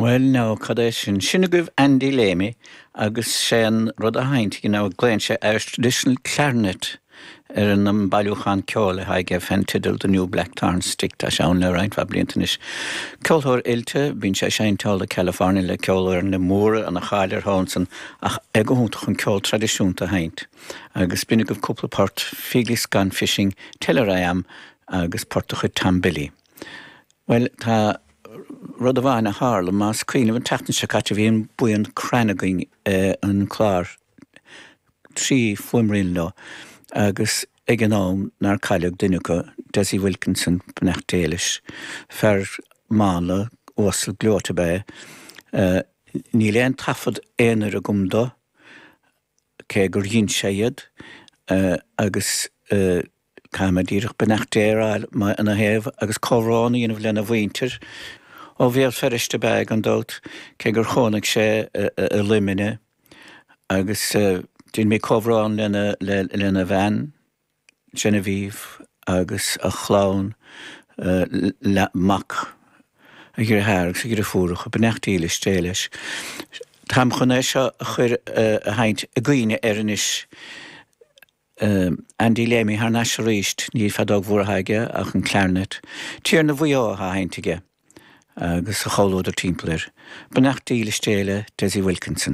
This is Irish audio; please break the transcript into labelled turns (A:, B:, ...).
A: Bhuel now, cad é sin? Sin agaibh Andy Leamy agus sé an rud atá á sheinnt aige now, glaonn sé Irish Traditional Clarinet ar an mbailiúchán ceoil atá aige fén teideal The New Blackthorn Stick. Tá sé ann le roinnt mhaith blianta anois. Ceoltóir oilte, bíonn sé ag seinnt thall i California le ceolfhoirne móra, ana cháil air thall ansan ach é go hiontach chun ceol traidisiúnta a sheinnt. Agus b'in agaibh cúpla port, Feely's Gone Fishing, Tell Her I Am agus port de chuid Tom Billy. Bhuel, tá rud amháin a tharla, más cuimhin libh an tseachtain seo caite bhí an buíon Crann againn ar an chlár, 3 fuaimrian leo, agus ag an am nár cailleadh duine acu, Dessie Wilkinson, beannacht Dé leis, fear mánla, uasal gleoite ab ea é. Níl aon taifead aonair agam dó, cé gur dhein sé iad, agus Caithfidh mé díreach beannacht Dé a rá ina thaobh agus comhbhrón a dhéanamh lena mhuintir. Ó Bhéal Feirste ab ea é gan dabht, cé gur chónaigh sé i Luimneach agus déanfaidh mé comhbhrón lena bhean, Genevieve, agus a chlann, mac, a dheartháir agus a dheirfiúracha. Beannacht dhílis Dé leis. Táim chun é seo a chur a sheinnt i gcuimhne air anois. Andy Leamy thar n-ais arís, ní feadóg mhór atá aige ach an clarinet. Tiarna Mhaigh Eo atá á sheinnt aige agus a chomhluadar timpeall air. Beannacht dhílis Dé le Dessie Wilkinson.